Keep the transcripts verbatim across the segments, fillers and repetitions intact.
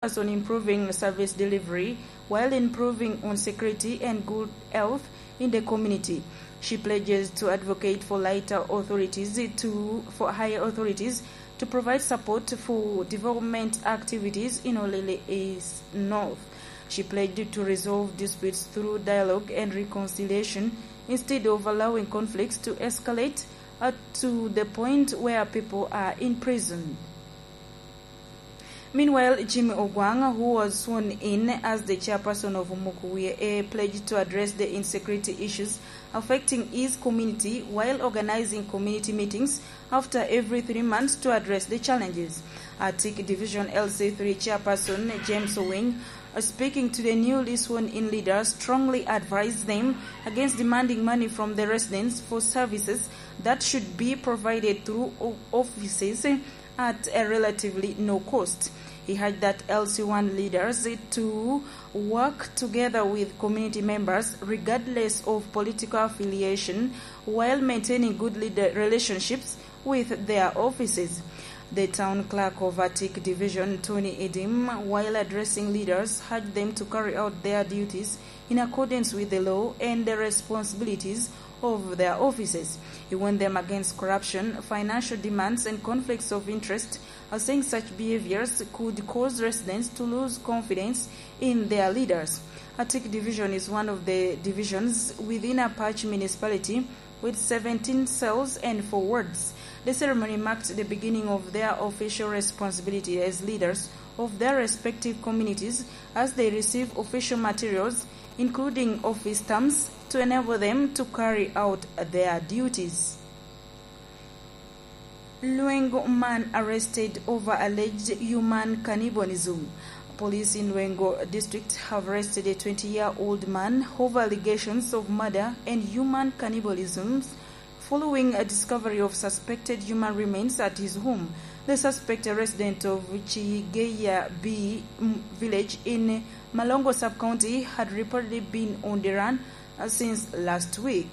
on improving service delivery while improving on security and good health in the community. She pledges to advocate for lighter authorities to, for higher authorities to provide support for development activities in Olele East North. She pledged to resolve disputes through dialogue and reconciliation instead of allowing conflicts to escalate, uh, to the point where people are imprisoned. Meanwhile, Jimmy Ogwang, who was sworn in as the chairperson of Mukuwie A, pledged to address the insecurity issues affecting his community while organizing community meetings after every three months to address the challenges. Atik Division L C three chairperson James Owiny, uh, speaking to the newly sworn-in leaders, strongly advised them against demanding money from the residents for services that should be provided through o-, offices at a relatively no cost. He urged that L C one leaders to work together with community members regardless of political affiliation while maintaining good leader relationships with their offices. The town clerk of Atik Division, Tony Edim, while addressing leaders, urged them to carry out their duties in accordance with the law and the responsibilities of their offices. He warned them against corruption, financial demands, and conflicts of interest, as saying such behaviors could cause residents to lose confidence in their leaders. Atik Division is one of the divisions within Apac Municipality with seventeen cells and four wards. The ceremony marked the beginning of their official responsibility as leaders of their respective communities as they receive official materials, including office terms, to enable them to carry out their duties. Lwengo man arrested over alleged human cannibalism. Police in Lwengo District have arrested a twenty-year-old man over allegations of murder and human cannibalism following a discovery of suspected human remains at his home. The suspect, a resident of Chigeya B village in Malongo Sub-County, had reportedly been on the run, uh, since last week.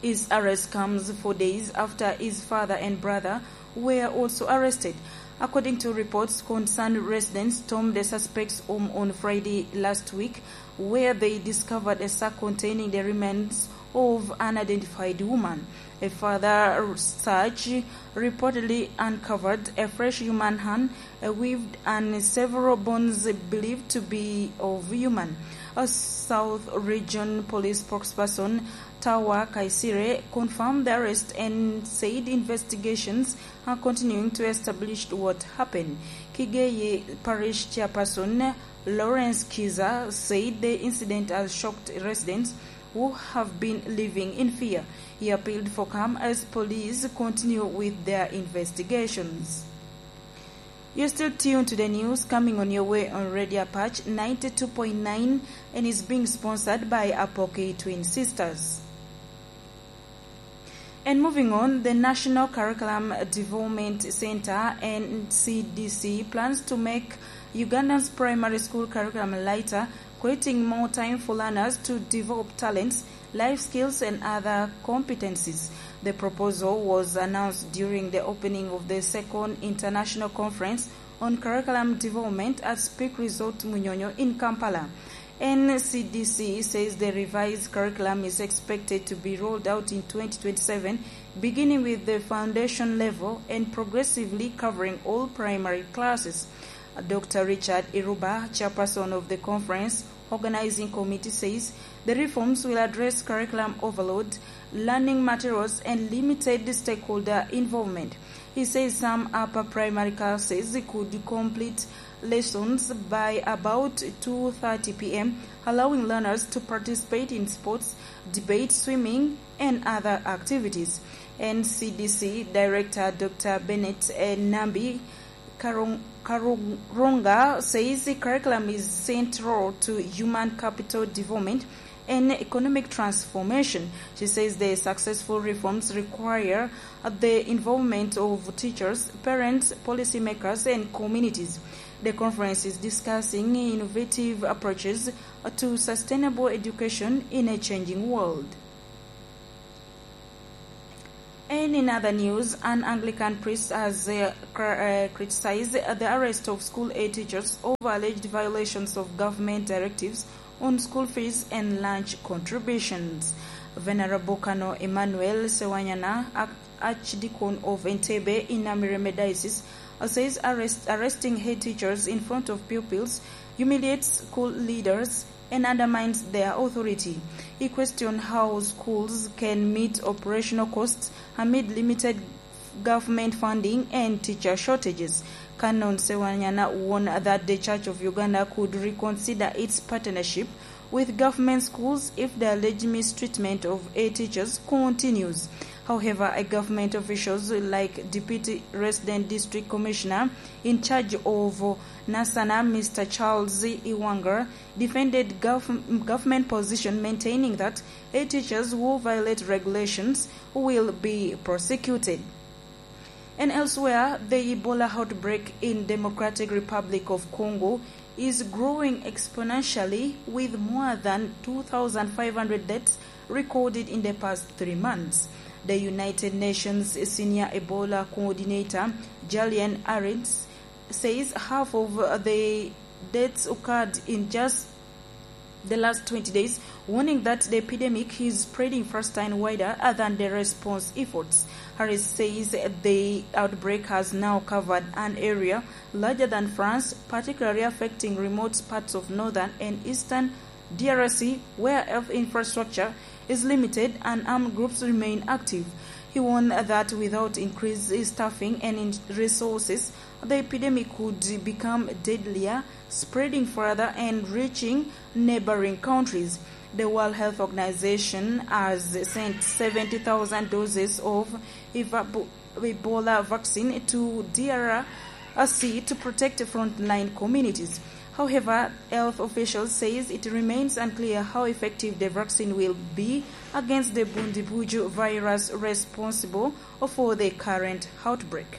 His arrest comes four days after his father and brother were also arrested. According to reports, concerned residents stormed the suspect's home on Friday last week, where they discovered a sack containing the remains of an unidentified woman. A further search reportedly uncovered a fresh human hand, a weave, and several bones believed to be of human. A South Region Police spokesperson Tawa Kaisire confirmed the arrest and said investigations are continuing to establish what happened. Kigeye Parish Chairperson Lawrence Kiza said the incident has shocked residents who have been living in fear. He appealed for calm as police continue with their investigations. You're still tuned to the news coming on your way on Radio Apache ninety-two point nine and is being sponsored by Apoki Twin Sisters. And moving on, the National Curriculum Development Center, N C D C, plans to make Uganda's primary school curriculum lighter, creating more time for learners to develop talents, life skills, and other competencies. The proposal was announced during the opening of the second International Conference on Curriculum Development at Speke Resort Munyonyo in Kampala. N C D C says the revised curriculum is expected to be rolled out in twenty twenty-seven, beginning with the foundation level and progressively covering all primary classes. Doctor Richard Iruba, chairperson of the conference organizing committee, says the reforms will address curriculum overload, learning materials, and limited stakeholder involvement. He says some upper primary classes could complete lessons by about two thirty p m, allowing learners to participate in sports, debate, swimming, and other activities. N C D C Director Doctor Bennett, eh, Nambi Karung-, Karunga says the curriculum is central to human capital development and economic transformation. She says the successful reforms require, uh, the involvement of teachers, parents, policymakers, and communities. The conference is discussing innovative approaches, uh, to sustainable education in a changing world. In other news, an Anglican priest has uh, cr- uh, criticized the arrest of school aid teachers over alleged violations of government directives on school fees and lunch contributions. Venerable Kano Emmanuel Sewanyana, Arch- Archdeacon of Entebbe in Namirembe Diocese, uh, says arrest- arresting head teachers in front of pupils humiliates school leaders and undermines their authority. He questioned how schools can meet operational costs amid limited government funding and teacher shortages. Canon Sewanyana warned that the Church of Uganda could reconsider its partnership with government schools if the alleged mistreatment of A teachers continues. However, a government officials like Deputy Resident District Commissioner in charge of Nasana, Mister Charles Iwanga, defended gov- government position, maintaining that A teachers who violate regulations will be prosecuted. And elsewhere, the Ebola outbreak in Democratic Republic of Congo is growing exponentially, with more than two thousand five hundred deaths recorded in the past three months. The United Nations Senior Ebola Coordinator, Julian Arends, says half of the deaths occurred in just the last twenty days, warning that the epidemic is spreading faster and wider than the response efforts. Harris says the outbreak has now covered an area larger than France, particularly affecting remote parts of northern and eastern D R C, where health infrastructure is limited and armed groups remain active. He warned that without increased staffing and in- resources, the epidemic could become deadlier, spreading further and reaching neighboring countries. The World Health Organization has sent seventy thousand doses of Ebola vaccine to D R C to protect frontline communities. However, health officials says it remains unclear how effective the vaccine will be against the Bundibugyo virus responsible for the current outbreak.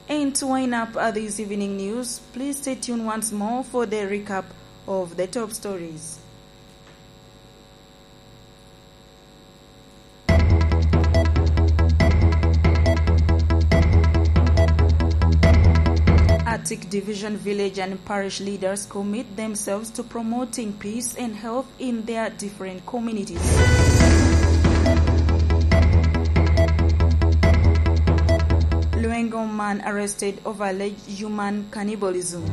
And to wind up uh, this evening news, please stay tuned once more for the recap of the top stories. Atik Division village and parish leaders commit themselves to promoting peace and health in their different communities. Luengo man arrested over alleged human cannibalism.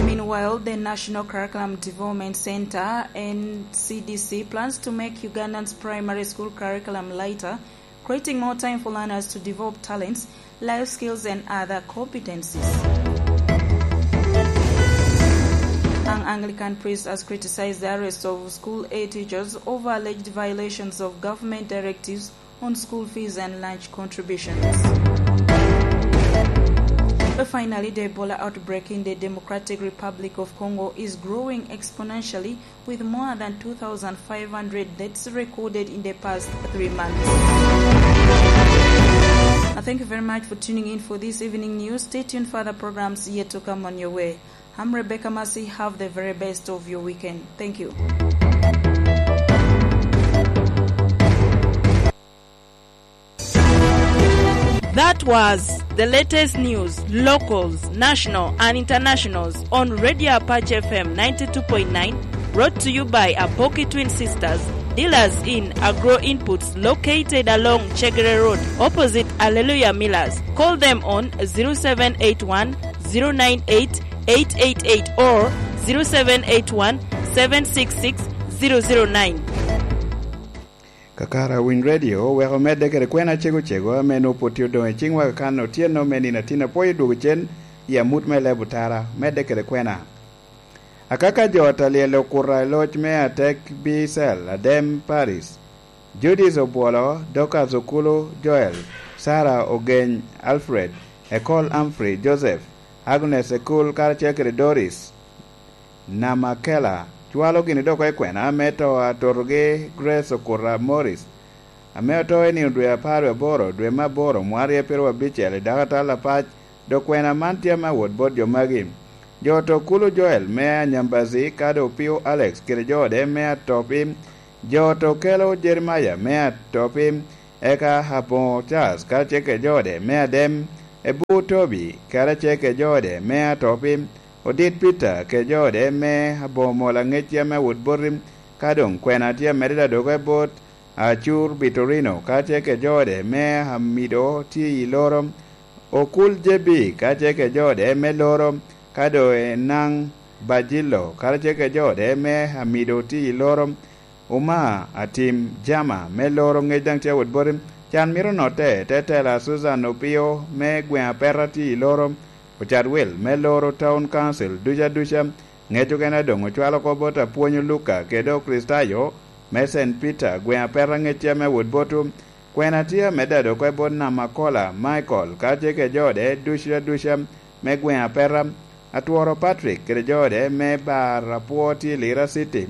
Meanwhile, the National Curriculum Development Center, N C D C, plans to make Uganda's primary school curriculum lighter, creating more time for learners to develop talents, life skills, and other competencies. An Anglican priest has criticized the arrest of school aid teachers over alleged violations of government directives on school fees and lunch contributions. But finally, the Ebola outbreak in the Democratic Republic of Congo is growing exponentially, with more than two thousand five hundred deaths recorded in the past three months. I thank you very much for tuning in for this evening news. Stay tuned for other programs yet to come on your way. I'm Rebecca Mercy. Have the very best of your weekend. Thank you. That was the latest news, locals, national and internationals, on Radio Apache F M ninety-two point nine, brought to you by Apoki Twin Sisters, dealers in agro inputs, located along Chegere Road, opposite Alleluia Millers. Call them on zero seven eight one, zero nine eight, eight eight eight or zero seven eight one, seven six six, zero zero nine. Kakara Winy Radio oweko medde kede kwena cego cego ame nwoŋo pwod tye odoŋ i ciŋwa kakan otyeno me nino atin apwoyo dwogo cen i amut me leb otara, medde kede kwena. Akaka jo ata lyel okuta i loc me Atek Bicel Adem Paris, Judith Obwolo, Dorcas Okulu, Joel, Sarah Ogeny, Alfred, Ekol Humphrey, Joseph, Agnes Ekul karacel kede Doris Namakela, cwalo gini dok i kwena me to a totogi Grace Okuta Morris, ame oto i nino dwe apar wie aboro, dwe me aboro, mwaryo pyeraryo abicel, i dakatal apac, dok kwena man tye ame awot bot jo magi. Jo oto Kulu Joel me Anyambazi, kado Opio Alex kede jo ode me Atop i Jo to kelo Jeremia me atopi, eka aboŋo Charles karacel kede jo ode me adem, Ebur Tobi karacel kede jo ode me atopi, Odit Peter kede jo ode me aboŋo mol aŋec yam me awot boti, ka doŋ kwena tye amedde dadoge bot Acur Bitorino karacel kede jo ode me amido tye i loro, Okul J B karacel kede jo ode me loro, ka doŋ Enaŋ Bajilo karacel kede jo ode me amido tye i loro, Uma Atim Jama me loro ŋec daŋ tye awot boti. Can mito notte, te tela Susan Opio me gweŋ Apeta tye i loro, ocat wil me loro Town Council duca duca. Ŋec okene doŋ ocwalo oko bot apwony Luka kede Okricitayo me Saint Peter gweŋ Apeta ŋec tye me awot boti. Kwena tye amedde ado oko i bot Namakola Michael karacel kede jo ode duca duca me gweŋ Apeta. Atworo Patrick kede jo ode me bar apwo tye i Lira City.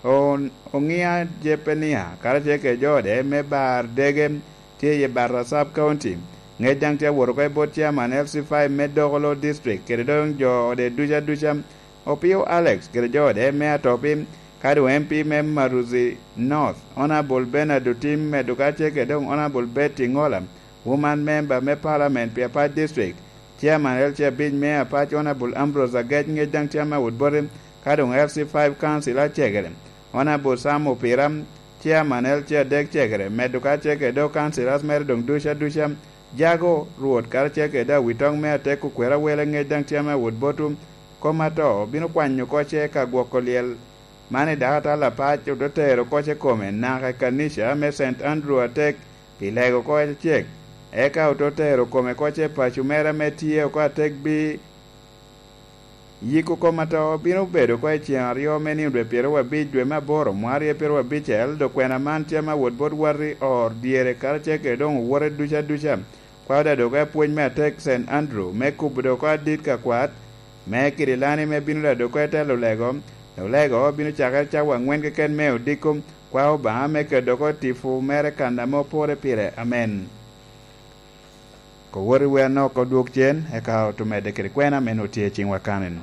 O-, Oŋia Jepenia karacel kede jo ode me bar dege tye i Barra Sub County. Ŋec daŋ tye awot oko i bot Chairman L C five me Dokolo District kede doŋ jo ode duca duca. Opio Alex kede jo ode me atopi, ka doŋ M P me Maruzi North, Honourable Bernard Otim, medo karacel kede doŋ Honourable Betty Ngola, Woman Member me Parliament pi Apac District, Chairman L C abic me Apac, Honourable Ambrose Agec, ŋec daŋ tye ame awot boti, ka doŋ L C five Council acegere, Honourable Sam Opira, Chairman L C adek cegere, medo karacel kede doŋ Councilors mere doŋ duca duca, Jago Rwot karacel kede Awitoŋ me Atek Okwero Awele, ŋec daŋ tye ame awot boti, kom ato obino kwanyo oko ce ka gwoko lyel. Man i dakatal apac ote tero oko ce kome naka i kanica me Saint Andrew atek pi lego oko acek, eka ote tero kome oko ce paco mere ame tye oko atek bi yiko kom ato bino bedo oko i ceŋ aryo me nino dwe pyeraryo abic dwe me aboro mwaka aryo pyeraryo abicel, dok kwena man tye ame awot bot wati or dyere karacel kede doŋ owote duca duca. Kwao daŋ dok apwony me atek Saint Andrew me kubo dok oko adit ka kwat me Kirilani me bino daŋ dok oko i telo lego. Olego bino cakere cawa aŋwen keken me odiko. Kwao Obaŋa me keto dok oko tipo mere kan ame opore pire. Amen. Kowoti wer nok odwog cen, eka otumedde kede kwena ame nwoŋo tye i ciŋwa kanen.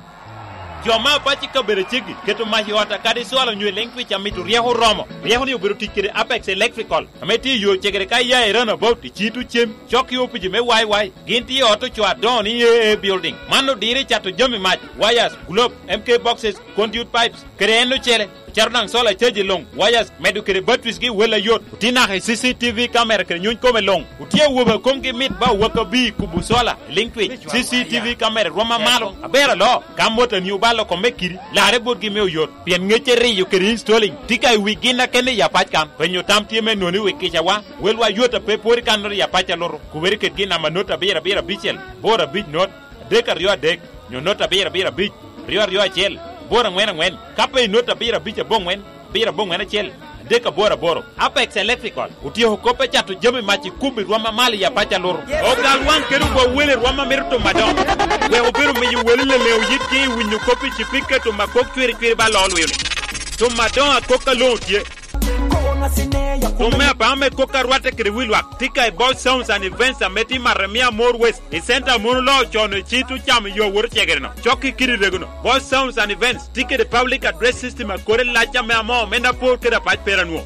Jo me apac i kabedo aceggi keto mac i ot akadi cwalo onyo i liŋ twic amito ryeko oromo. Ryeko-ni obedo tic kede Apex Electrical, ame tye i yo cegere ka iya i Roundabout i Cito Cem, cok i opici me Y Y. Gin tye i ot ocoo adoŋo ni A A Building. Man odiro i cato jami mac, wires, globe, M K boxes, conduit pipes, kede en ocele. Ocato daŋ solar charge i luŋ, wires, medo kede batteries gi wel ayot. Otye naka i C C T V camera kede nyuny kome luŋ. Otye awobe a komgi mit ba owak abir i kubo solar i liŋ twic. C C T V camera rwom amalo, aber aloo. Ka motoni obalo kome kidi, larre botgi me oyot. Pien ŋecce riyo kede installing tye ka i wi gin akene i apac kan. Penyo tam tye me noni wi kicawa, welwa yot a pe pwod i kannoro i apac alutu. Kubere ked gin namba not abiro abiro abicel, boro abic not, adek aryo adek, nyo not abiro abiro abic, aryo aryo acel, boro aŋwen aŋwen, ka pe i not abiro abic aboŋwen, abiro aboŋwen acel, adek aboro aboro. Apex Electrical otyeko kop me cato jami mac i kubo i rwom amalo i apac alutu. Ogal waŋ kede ogo wel i rwom a mito timo adoŋo, wek obed omiyo wele leleŋo yitgi i winyo kop i cipika timo akok cwiri cwiri ba loo lwil. Timo adoŋo akok a luŋo tye. Timo me apaŋo me kok a rwatte kede wi lwak tye ka i Boss Sounds and Events ame tye i Maremia More West. I center a mon oloo con i cit ocamo yo awot ocegere-no, cok i kidi rego-nu. Boss Sounds and Events tye kede public address system a kore lac ame amoo omenda apor kede apac pera nwo.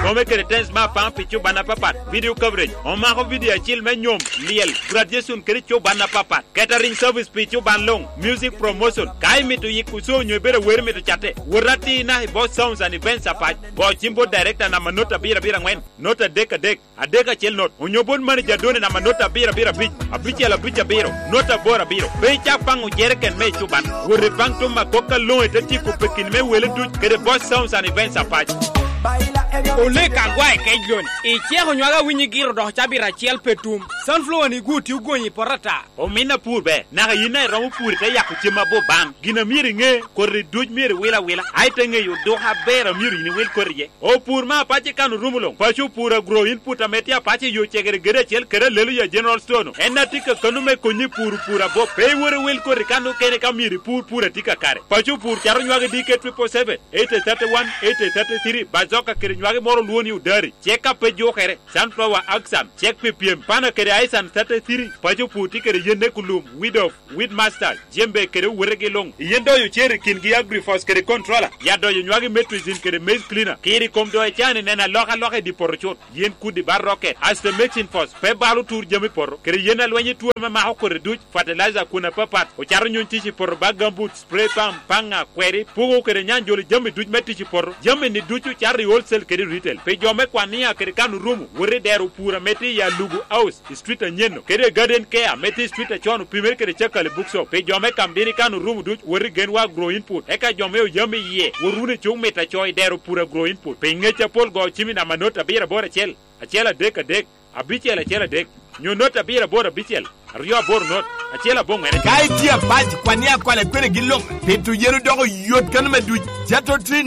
Kome kede tens me apaŋ pi cuban apapat, video coverage, omako video acil me nyom, lyel, graduation kede cuban apapat. Catering service pi cuban luŋ, music promotion. Ka imito yiko co onyo ibedo awero imito catte, wot atir naka i Boss Sounds and Events apac. Go cim bot director namba not abiro abiro aŋwen, not adek adek, adek acel not, onyo bot manager done namba not abiro abiro abic, abicel abic abiro, not aboro abiro. Pe icak paŋo jereken me ecuban. Wot ipaŋ tuma kok aloŋo ite tyeko pekini me wele duc kede Boss Sounds and Events apac. Olek agwa i kec loni. Iceko nywaka winyi giro dok cabit acel pe tum. Sunflower ni gwo tye ogonyi i poto ata. Omin apur ber, naka yin a iromo pur ite yako cem abor baŋ. Gin a myero iŋe, koti duc myero iwil awila, a ite ŋeyo oduka aber a myero yin iwil koti iye. Opur me apac i kan orumo luŋ. Paco opur agro input ame tye apac i yo cegere gedo acel kede Aleluya General Store-nu. En a tye ka kano me konyi i pur opur abop. Pe iwot iwil koti kan okene ka myero ipur pur a tye kakare. Paco opur cato nywagi D K triple seven, eight thirty-one, eight thirty-three, Bazoka kede Lwagi moro olwo ni odari, cek a pe jukere, sunflower, axan, cek pi pyem, pana kede aisan thirty-three, paco pur tye kede yen ekulum, weed of, weed master, jembe kede owetegi luŋ. Yen doyo cer i kingi agrifos kede controller, ya doyo nywagi metricin kede maize cleaner, kiri kom doyo cani neno alokaloka i di poto cut. Yen kudi ba rocket, aste mexin fos, pe balo tur jami poto, kede yen alweny i tuo ame mako kore duc, fertilizer kun apapat, ocato nyuny tic i poto ba gambut, spray pump, paŋa, kweri, pugo kede nyanjolo jami duc me tic i poto. Jami-ni ducu cato i wholesale kede retail. Pi jo me kwania kede kan orumo, wot i dero pur ame tye i Alugu House, i street anyen-nu, kede i Garden Care ame tye i street acon opimere kede Cakali Bookshop. Pi jo me Kamdini kan orumo duc, wot i Genwa Agro Input. Eka jo me Oyam iye, wot wunu i Cuk Mit Aco i dero pur Agro Input. Pi ngec apol go cim i namba not abiro aboro acel, acel adek adek, abicel acel adek, nyo not abiro aboro abicel, aryo aboro not, acel aboŋwen acel. Ka itye apac, kwan ni akwala kwene gin lok, pito yen odoko yot kano me duc. Jato Trin